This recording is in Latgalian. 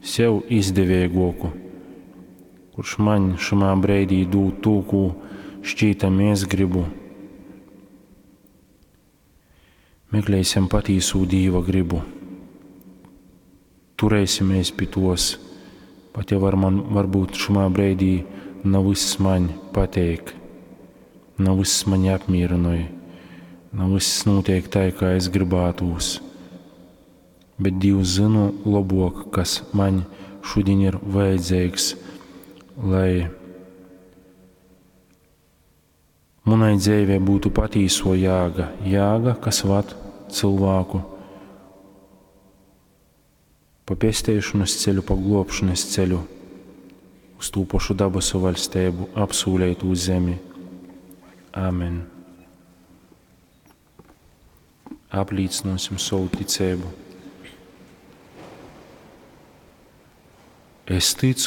sev izdeveiguoku, kurš maņ šymā breidī dūd tū, kū šķītami es gribu. Meklēsim patīsū Dīva gribu. Turēsimies pi tos, pat ja var man, varbūt šymā breidī na vyss maņ pateik, na vyss mani apmīrynoj, na vyss nūteik tai, kā es gribātūs. Bet Dīvs zynu lobuok, kas maņ šudiņ ir vajadzeigs, lai munai dzeivei būtu patīso jāga, jāga, kas vad cilvēku pa pesteišanas ceļu, pa globšanas ceļu, uz tū pašu dabasu vaļsteibu, apsūleitū zemi. Amen. Aplīcināsim savu ticību. Es ticu.